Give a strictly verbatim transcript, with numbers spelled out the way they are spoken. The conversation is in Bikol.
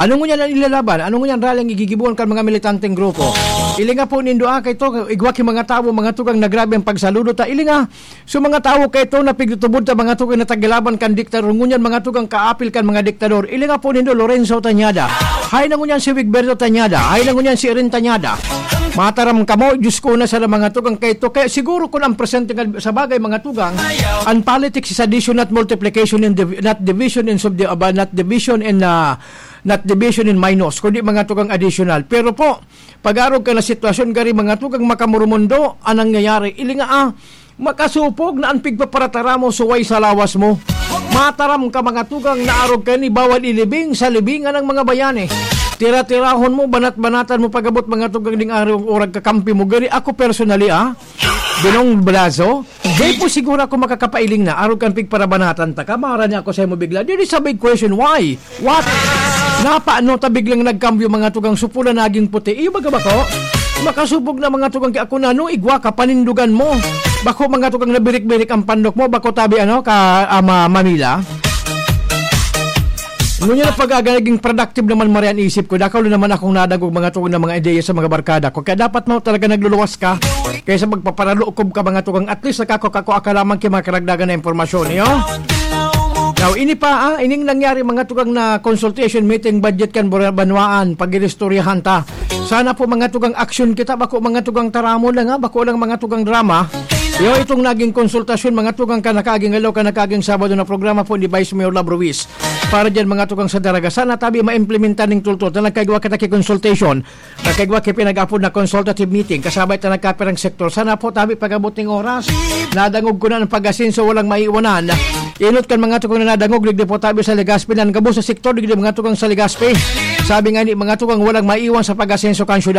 Ano ngunyan an ilalaban? Ano ngunyan rally an igigibohon kan mga militanteng grupo? Ilinga po nindo, ah, kay to, igwa ki mga tawo, mga tugang, na grabe an pagsaludo ta. Ilinga, so mga tawo kay to na pigtutubod ta, mga tugang, na tagilaban kan diktador. Ngunyan, mga tugang, kaapil kan mga diktador. Ilinga po nindo, Lorenzo Tañada. Hay na ngunyan si Wigberto Tañada. Hay na ngunyan si Irene Tañada. Mataram kamo, Diyos ko, na sana, mga tugang, kay to. Kaya siguro kung ang presente nga sa bagay, mga tugang, ang politics is addition, not multiplication, in div-, not division in subdi-, aba, not division in, ah, not division in minus, kundi, mga tugang, additional. Pero po, pag-arog ka na sitwasyon, gari, mga tugang, makamurumundo ang nangyayari. Ilinga, ah, makasupog na ang pigpaparatara mo, suway sa lawas mo. Mataram ka, mga tugang, na arog ka ni bawal ilibing sa libingan ng mga bayani. Tira-tirahon mo, banat-banatan mo pag-abot, mga tugang, ding araw, orag kakampi mo. Gari, ako personally, ah, Binong Blazo, di po siguro ako makakapailing na, arog kan pigparabanatan ta ka, mara niya ako sa imo bigla. There is a big question, why? What? Napaano ta biglang nagkambyo, mga tugang, supula naging puti? Iyo baga bako? Makasubog na, mga tugang, ki ako na, no, igwa ka, panindugan mo. Bako, mga tugang, nabirik-birik ang pandok mo, bako tabi, ano, ka, ama, Manila. Ngunyan na pag-aga, naging productive naman, Marian, isip ko. Dakaw na naman akong nadagog, mga tugang, na mga ideya sa mga barkada ko. Kaya dapat mo talaga nagluluwas ka kaysa magpaparalookob ka, mga tugang. At least, nakakakua ka lamang ki mga karagdagan na impormasyon, iyo? Now, ini pa, ah, ining nangyari, mga tugang, na consultation meeting, budget kan bura-, banwaan, pag-iristoryahan ta. Sana po, mga tugang, aksyon kita, bako, mga tugang, taramon lang, ha, bako lang, mga tugang, drama. Iyo, itong naging konsultasyon, mga tugang, kan nakaaging adlaw, kan nakaaging Sabado na programa po ni Vice Mayor Love Ruiz. Para diyan, mga tugang, sa Daraga, sana tabi maimplementar ning tultol ta nagkaigwa kita ki consultation. Nagkaigwa ki pinag-apod na consultative meeting. Kasabay ta nagkapirang sektor. Sana po tabi pag-abot ning oras. Nadangog ko na ang pag-asenso, walang maiiwanan. Inot kan mga tugang na nadangog, digdi po tabi sa Legazpi, nan gabos sa sektor, digdi mga tugang sa Legazpi. Sabi nga ni mga tugang, walang maiwan sa pag-asenso kan syudad.